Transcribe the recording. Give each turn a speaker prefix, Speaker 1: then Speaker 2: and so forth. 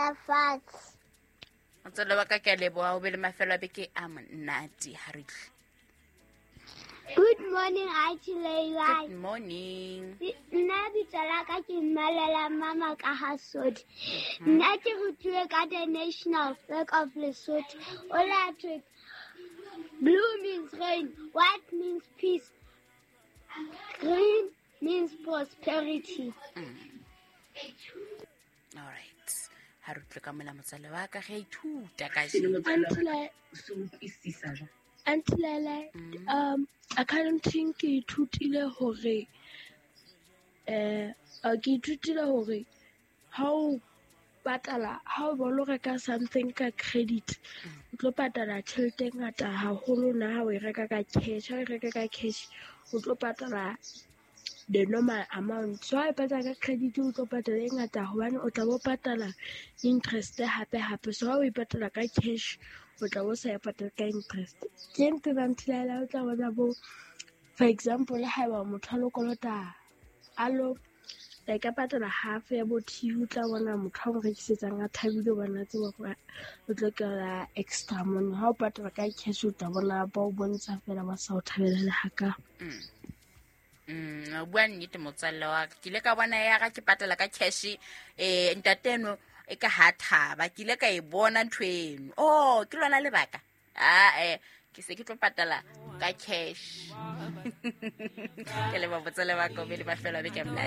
Speaker 1: dula fatshe.
Speaker 2: Motswalle wa ka, ke a leboga, o be le mafelo a beke a monate. Ga re tle.
Speaker 1: Good morning, Auntie Leila.
Speaker 2: Good morning.
Speaker 1: Nna bitso la ka ke Mmalela Mama ka Hasodi. Nna ke rutilwe ka the National Flag of Lesotho. O la thwe blue means rain, white means peace, green means prosperity.
Speaker 2: All right, ga re utlwe ka mola motswale wa ka ge a ithuta ka.
Speaker 3: Auntie Lele, accounting ke ithutile hore ke ithutile hore ha o patala, ha o bolo reka something ka credit, o tlo patala tjhelete e ngata haholo na ha o e reka ka cash. Ha o e reka ka cash, o tlo patala the normal amount. So ha e patala ka credit, o tlo patala e ngata hobane o tla bo patala interest hape hape. So ha o e patala ka cash, o tla bo sa e patala ka interest. Ke ntho ba nthilela, o tla bona bo, for example, haeba motho a lo kolota, a lo like a patala half ya bo TV, o tla bona motho a mo rekisetsang a thabile hobane a tseba hore o tlo kry-a extra money. Ha o patala ka cash, o tla bona ba o bontsha fela ba sa o thabela le haka.
Speaker 2: O bua nnete, motswalle wa ka. Ke ile ka bona ya ga ke patala ka cash, ntateno e ka ha thaba. Ke ile ka e bona ntho eno. Oh, ke lona lebaka. Ae, ke se ke tlo patala ka cash. Ke leba motswalle wa ka, o be le mafelo a beke a monate.